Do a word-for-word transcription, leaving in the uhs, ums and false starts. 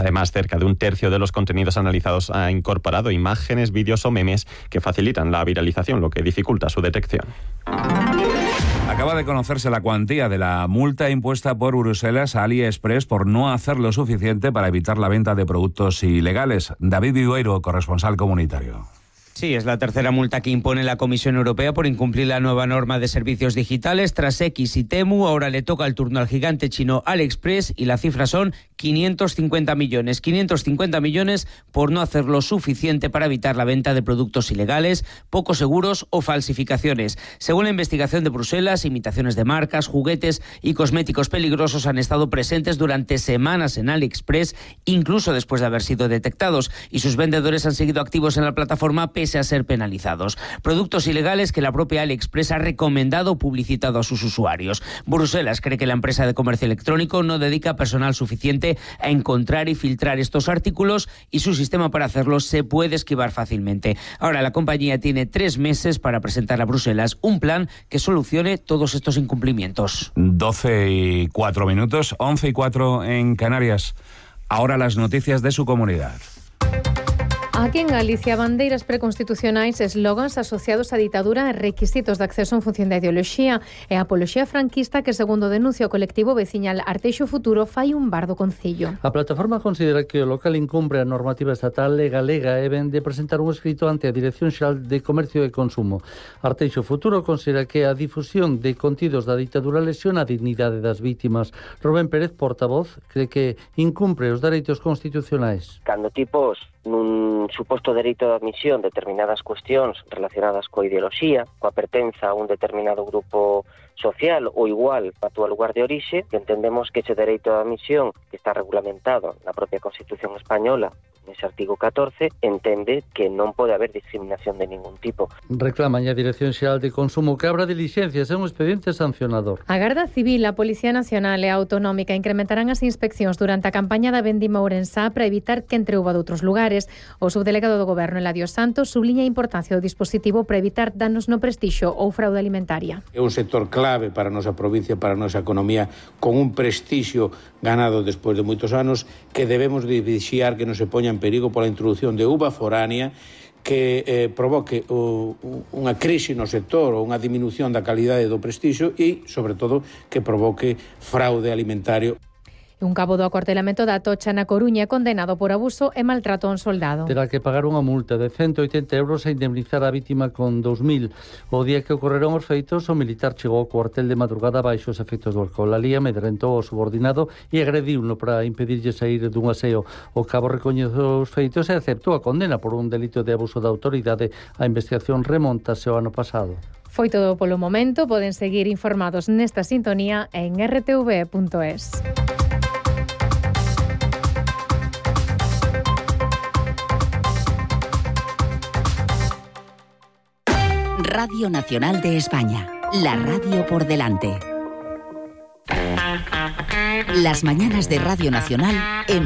Además, cerca de un tercio de los contenidos analizados ha incorporado imágenes, vídeos o memes que facilitan la viralización, lo que dificulta su detección. Acaba de conocerse la cuantía de la multa impuesta por Bruselas a AliExpress por no hacer lo suficiente para evitar la venta de productos ilegales. David Vidueiro, corresponsal comunitario. Sí, es la tercera multa que impone la Comisión Europea por incumplir la nueva norma de servicios digitales. Tras X y Temu, ahora le toca el turno al gigante chino AliExpress y la cifra son quinientos cincuenta millones. quinientos cincuenta millones por no hacer lo suficiente para evitar la venta de productos ilegales, poco seguros o falsificaciones. Según la investigación de Bruselas, imitaciones de marcas, juguetes y cosméticos peligrosos han estado presentes durante semanas en AliExpress, incluso después de haber sido detectados, y sus vendedores han seguido activos en la plataforma pese a ser penalizados. Productos ilegales que la propia AliExpress ha recomendado o publicitado a sus usuarios. Bruselas cree que la empresa de comercio electrónico no dedica personal suficiente a encontrar y filtrar estos artículos y su sistema para hacerlo se puede esquivar fácilmente. Ahora la compañía tiene tres meses para presentar a Bruselas un plan que solucione todos estos incumplimientos. doce y cuatro minutos, once y cuatro en Canarias. Ahora las noticias de su comunidad. Aquí en Galicia, bandeiras preconstitucionais, eslogans asociados á ditadura e requisitos de acceso en función da ideoloxía e a apoloxía franquista que, segundo denuncia o colectivo veciñal Arteixo Futuro, fai un bar do concello. A plataforma considera que o local incumpre a normativa estatal e galega e ven de presentar un escrito ante a Dirección Xeral de Comercio e Consumo. Arteixo Futuro considera que a difusión de contidos da ditadura lesiona a dignidade das vítimas. Rubén Pérez, portavoz, cree que incumpre os dereitos constitucionais. Cando tipos nun suposto dereito de admisión determinadas cuestións relacionadas coa ideoloxía, coa pertenza a un determinado grupo social ou igual a túa lugar de orixe, que entendemos que ese dereito de admisión que está regulamentado na propia Constitución española, nese artigo catorce, entende que non pode haber discriminación de ningún tipo. Reclaman a Dirección Xeral de Consumo que abra dilixencias e un expediente sancionador. A Garda Civil, a Policía Nacional e a Autonómica incrementarán as inspeccións durante a campaña da vendima ourensá para evitar que entre uva de outros lugares. O subdelegado do Goberno, Eladio Santos, subliña a importancia do dispositivo para evitar danos no prestixio ou fraude alimentaria. É un sector clave para a nosa provincia, para a nosa economía, con un prestixio ganado despois de moitos anos, que debemos de vixiar que non se poña en perigo pola introducción de uva foránea que eh, provoque o, unha crise no sector ou unha diminución da calidade do prestixio e, sobre todo, que provoque fraude alimentario. Un cabo do acuartelamento da Atocha na Coruña condenado por abuso e maltrato a un soldado. Terá que pagar unha multa de ciento oitenta euros e indemnizar a vítima con dous mil. O día que ocorreron os feitos, o militar chegou ao cuartel de madrugada baixo os efectos do alcohol. Alí amedrentou ao subordinado e agrediuno para impedirlle sair dun aseo. O cabo recoñeceu os feitos e aceptou a condena por un delito de abuso da autoridade. A investigación remontase ao ano pasado. Foi todo polo momento. Poden seguir informados nesta sintonía en erre te ve punto es. Radio Nacional de España, la radio por delante. Las mañanas de Radio Nacional en